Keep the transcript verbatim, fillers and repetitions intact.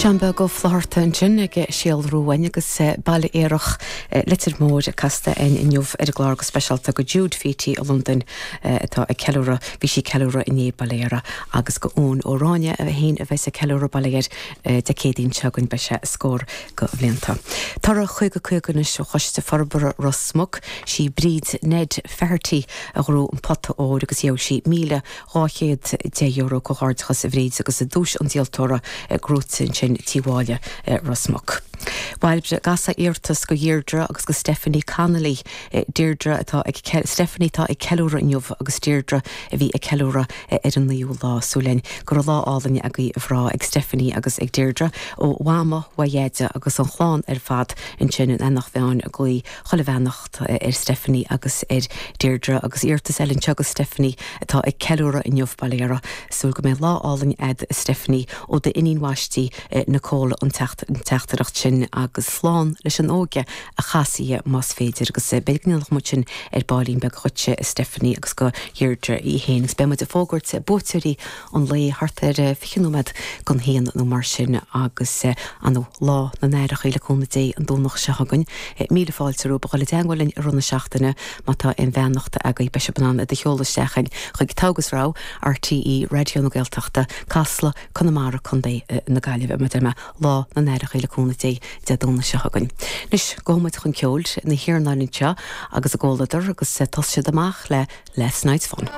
John Beag Ó Flatharta ansin ag síolrú uainn agus Baile Aerach Leitir Móir casta againn inniu ar an gclár go speisialta go Jude Feety i Londain atá ag ceiliúradh bhí sí ag ceiliúradh inné bail ó Dhia uirthi agus go Eoin Ó Ráinne a haon a bheas ag ceiliúradh bail ó Dhia air Dé Céadaoin seo chugainn beidh sé scór go bhlianta. Toradh caoga caoga anois ó Choiste Forbartha Ros Muc sí Bríd Ned Feherty a ghnóthaigh an pota óir agus gheobhaidh sí míle dhá chéad deich euro comhghairdeachas a Bhríd agus a duais an díoltóra gnóthaithe ansin Tí Mháille Ros Muc. Bairbre gasa iarratas go Dheirdre agus go Stephanie Connolly Deirdre atá ag Stephanie tá ag ceiliúradh inniu agus Deirdre a bhí ag ceiliúradh ar an naoú lá súil linn go raibh lá álainn agaibh a bhrá ag Stephanie agus ag Deirdre ó Mhama Mhaighéide agus an chlann ar fad ansin in Eanach Mheáin ag guí chuile bheannacht ar Stephanie agus ar Deirdre agus iarratas eile anseo go Stephanie atá ag ceiliúradh inniu bail ó Dhia uirthi súil go mbeidh lá álainn a'd Stephanie ó d'iníon bhaistí Nicole an teachtaireacht sin agus slán leis an óige a chas í más féidir agus beidh muid sin ar baillín beag chuige Stephanie agus go Deirdre í féin agus beidh muid ag fógairt buaiteoirí an lae thart ar fiche nóiméad don haon nó mar sin agus an lá na n-aithreacha le cúnamh Dé an Domhnach seo chugainn. Míle fáilte romhaibh a dhul i dteagmháil linn i rith na seachtaine má tá aon bheannacht agaibh beidh sibh in ann iad a sheoladh isteach chuig Togha agus Rogha RTÉ Raidió na Gaeltachta Casla Conamara Contae na Gaillimhe mar mé lá na n-aithreacha le cúnamh Dé Dé Domhnaigh seo chugainn. Anois gabhfaidh muid chun ceoil na hIarnáin anseo agus a gcomhluadar agus tá siad amach le Last Night's Fun.